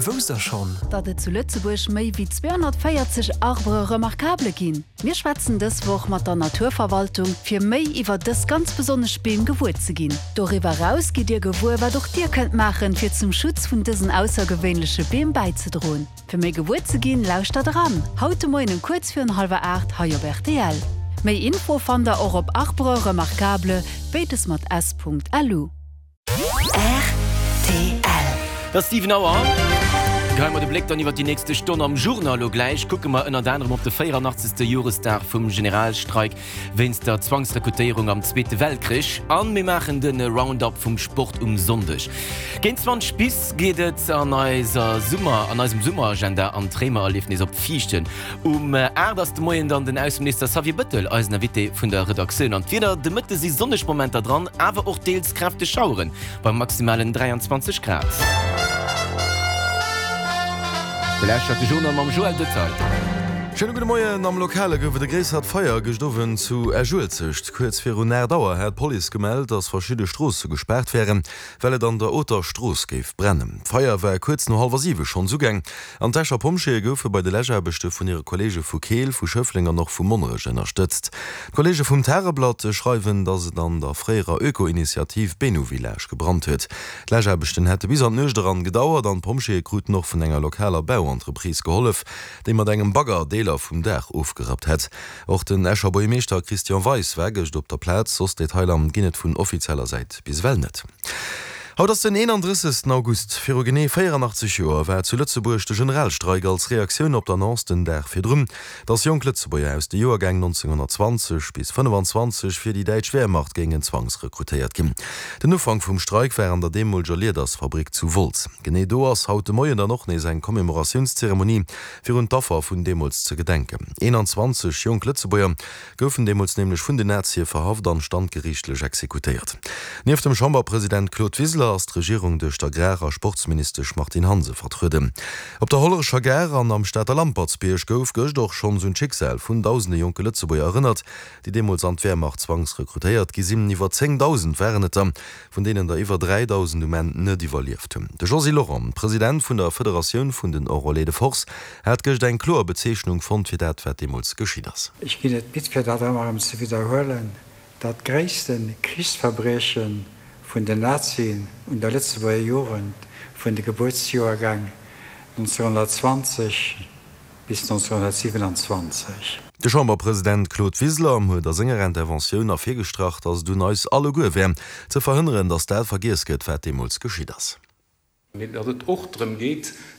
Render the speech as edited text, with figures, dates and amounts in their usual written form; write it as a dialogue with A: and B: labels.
A: Wousst der schonn?
B: Datt et zu Lëtzebuerg méi wéi 240 Arbres remarquables ginn? Mir schwätzen dës Woch mat der Naturverwaltung, fir méi iwwer dës ganz besonnesch Beem gewuer ze ginn. Doriwwer eraus gitt Dir gewuer, wat och Dir kënnt maachen, fir zum Schutz vun dësen aussergewéinleche Beem bäizedroen. Fir méi gewuer ze ginn, lauschtert eran, haut de Moien um kuerz virun hallwer 8 hei op rtl. Méi Info fannt der och op arbresremarquables, béides mat s.lu.
A: Rtl. Et ass 7 Auer. Geheie mer de Bléck dann iwwer déi nächste Stonn am Journal. Elo gläich kucke mer ënnert anerem op de 84. Joresdag vum Generalstreik wéinst der Zwangsrekrutéierung am Zweete Weltkrich an mir maachen de Roundup vum Sport um Sonndeg. Géint 20 bis geet et an eiser Summer, an eisem Summeragenda an d'Réimererliefnis op Viichten. Um 8 ass de Moien dann den Ausseminister Xavier Bëttel eisen Invité vun der Redaktioun. An d'Wieder, De Mëtte si sonneg Momenter dran, awer och deels kräfteg Schaueren bei maximalen 23 Grad. Dir lauschtert de Journal mam Joël Detaille.
C: Schéine gudde Moien. Am Lokale gouf et e gréissert Feier gëscht Owend zu Esch-Uelzecht. Kuerz virun 8 Auer hat d'Police gemellt, datt verschidde Stroosse gespaart wären, well et an der Oter Strooss géif brennen. D'Feier war kuerz no hallwer 7 schonns ugaang an d'Escher Pompjeeë goufe bei de Läschaarbechte vun hire Kolleege vu Keel, vu Schëffleng an och vu Monnerech ënnerstëtzt. D'Kolleege vum Tageblatt schreiwen, datt et an der fréierer Öko-Initiativ Benu Village gebrannt huet. D'Läschaarbechten hätte bis an d'Nuecht eran gedauert an d'Pompjeeë kruten och vun enger lokaler Bauentreprise gehollef, déi mat engem Bagger Deeler vum Daach ofgerappt hätt. Och den Escher Buergermeeschter Christian Weis war gëscht op der Plaz. Soss Detailer ginn et vun offizieller Säit bis ewell net. Haut ass den 31. August. Viru genee 84 Joer war zu Lëtzebuerg de Generalstreik als Reaktioun op d'Annonce den Dag virdrun, datt jonk Lëtzebuerger aus de Joergäng 1920 bis 25 fir déi däitsch Wehrmacht géingen zwangsrekrutéiert ginn. Den Ufank vum Streik war an der deemoleger Liedersfabrik zu Wolz. Genee do ass haut de Moien dann och nees eng Commémoratiounszeremonie fir un d'Affer vun deemools ze gedenken. 21 jonk Lëtzebuerger goufen deemools nämlech vun den Nazie verhaft an standgeriichtlech exekutéiert. Nieft dem Chamberpresident Claude Wiseler ass d'Regierung duerch d'Agrar a Sportsministesch Martine Hansen vertrueden. Op der Hollerecher Gare an am Stater Lampertsbierg gouf gëscht och schonns un d'Schicksal vun dausende jonke Lëtzebuerger erënnert, déi deemools an d'Wehrmacht zwangsrekrutéiert gi sinn. Iwwer 10.000 waren et der, vun deenen der iwwer 3.000 um Enn net iwwerlieft hunn. De Josy Lorent, President vun der Federatioun vun den Enrôlés de Force, hat gëscht eng kloer Bezeechnung fonnt fir dat, wat deemools geschitt ass.
D: Ech ginn et midd fir dat ëmmer erëm ze widderhuelen, dat gréisste Krichsverbrieche vun den Nazien un der Lëtzebuerger Jugend vun de Gebuertsjoergäng 1920 bis 1927.
C: De Chamberpresident Claude Wiseler huet a senger Interventioun ervirgestrach, datt et un eis alleguer wär, ze verhënneren, datt dat vergiess gëtt, wat deemools geschitt ass.
E: Mee datt et och drëm geet.